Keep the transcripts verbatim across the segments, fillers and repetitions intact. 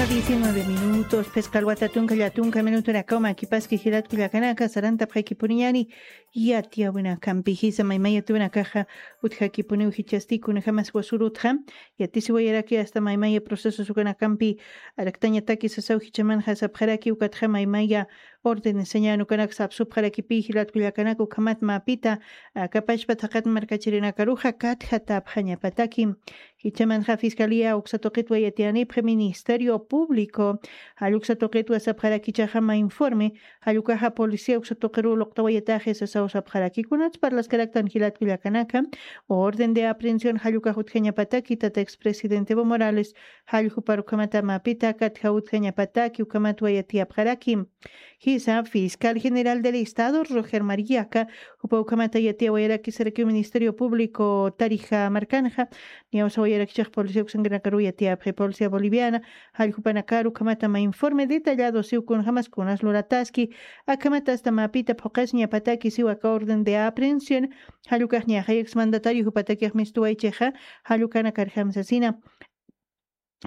Diecinueve minutos, phisqa alwata tunka llatunka minutunakaw makipaski jilat kullakanaka, sarantapxakipuniñani yatiyawinakampi. Jisa maymaya tuwinakaxa utjakipuniw jichasti kunajamas wasurutxa, yatisiwayaraki hasta maymaya procesos ukanakampi araktañataki sasaw jichamanxa sapxaraki ukatxa maymaya orden señan ukanak sapsupxarakipi jilat kullakanaka ukhamat mapita akapashpa thaqat markachirinakaruxa katjatapxañapataki. Jichamanxa fiscalía uksa tuqitwa yatiyanipxi ministerio público, jall uksa tuqitwa sapxarakichaxa mä informe, jall ukaxa policía uksa tuqiru luqtawayataxi sasaw sapxaraki. Kunats parlaskaraktan jilat kullakanaka, orden de aprehensión jall ukax utjañapataki tata expresidente Evo Morales, jall jupar ukhamata mapita katja utjañapataki ukhamatwa yatiyapxaraki. Jisa fiscal general del estado Roger Mariaka jupa ukhamata yatiyawayaraki sarakiw ministerio público tarija markanxa, niyawsawayarakichax policía uksankirinakaruw yatiyapxi policía boliviana, jall jupanakaru ukhamata mä informe detallado siw kunjamas kunas lurataski, akhamata hasta mapita phuqasiñapataki siw aka orden de aprehensión, jall ukax ñaxayax mandatario jupatakix mistuwaychixa, jall ukanakarjam sasina.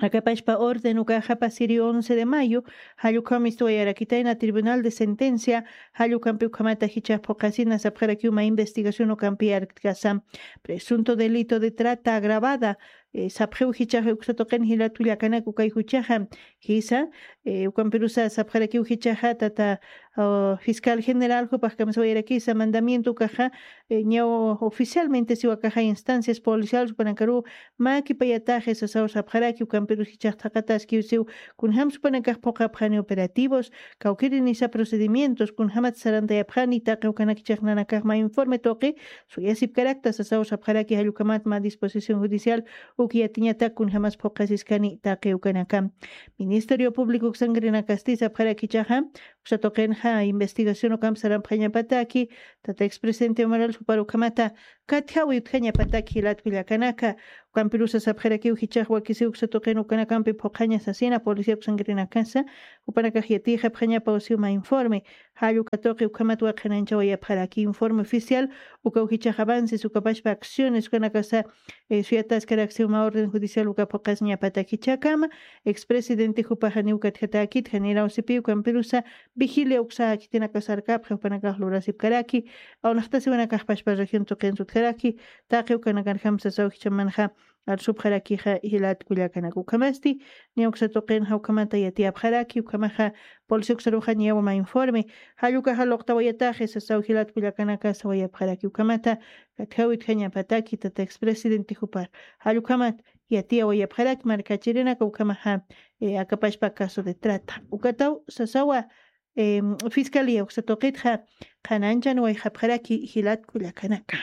Akapashpa orden ukaxa pasiri once de mayo, jall ukham mistuwayarakitayna tribunal de sentencia, jall ukampi ukhamata jichax phuqasina sapxarakiw mä investigación ukampi arkkasa. Presunto delito de trata agravada, eh, sapxiw jichaxa uksa tuqin jilat kullakanak ukay juchaxa, jisa, eh, ukampirusa sapxarakiw jichaxa tata, ah, fiscal general jupax kamsawayarakisa mandamiento ukaxa, eh, ñaw oficialmente siwakaxa instancias policiales jupanakaru mä kipayataxi sasaw sapxaraki ukampirus jichax thaqataskiw siw kunjams jupanakax phuqapxani operativos, kawkirinisa procedimientos, kunjamat sarantayapxani taqi ukanakichax nanakax mä informe tuqi suyasipkarakta sasaw sapxaraki, jall ukhamat mä disposición judicial uk yatiñatak kunjamas phuqasiskani taqi ukanaka. Ministerio público uksankirinakasti sapxarakichaxa uksa tuqinxa investigación ukamp sarampxañapataki tata expresidente Evo Morales jupar ukhamata katjawi utjañapataki jilat kullakanaka. Ukampirusa sapxarakiw jichax wakisiw uksa tuqin ukanakampi phuqaña sasina policía uksankirinakasa, jupanakax yatiyxapxañapaw siw mä informe, jall uka tuqi ukhamat waqhananchawayapxaraki informe oficial, ukaw jichax avances ukapashpa acciones ukanakasa, eh, suyataskarak siw mä orden judicial uka phuqasiñapatak jichhakama, expresidente jupaxa niw katjatäkit, janiraw sipi ukampirusa vigilia uksa khitinakasarkapxi jupanakax lurasipkaraki, awnaqtasiwanakaxpashpa región tuqin sutjaraki, taqi ukanakarjam sasaw jichamanxa arsupxarakixa jilat kullakanaka. Ukhamasti, niya uksa tuqinxa ukhamata yatiyapxaraki, ukhamaxa policía uksaruxa niyawa mä informe, jall ukaxa luqtawayataxi sasaw jilat kullakanaka sawayapxaraki, ukhamata katjaw utjañapataki tata expresidente jupar, jall ukhamat yatiyawayapxaraki markachirinaka ukhamaxa, eh, akapashpa caso de trata. Ukataw sasawa, em, fiscalía uksa tuqitxa qhananchan wayxapxaraki jilat kullakanaka.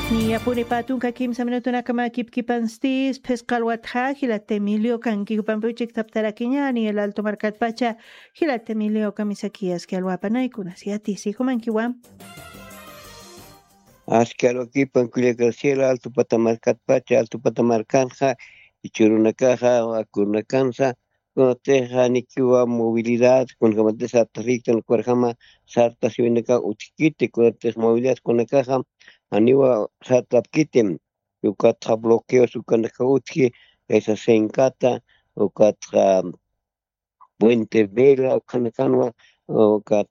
Niyapuni pä tunka kimsa minutunakama kipkipanstis phisqa alwatxa jilat Emilio kanki jupampi uchiktaptarakiñani el alto markatpacha jilat Emilio kamisakiyaski alwapanaykuna siyatisi jumankiwa. Aski alwakipan kullaka cielo alto pata markatpacha alto pata markanxa ichurunakaxa wakurunakansa kunatixa nikiwa movilidad kunakamatix sartasiytan ukarjama sartasiwinaka utjkiti kunatix movilidad kunakaxa janiwa sartapkitim. Ukatxa bloqueos ukanaka utji kaysa senkata ukatxa puente vela ukanakanwa ukat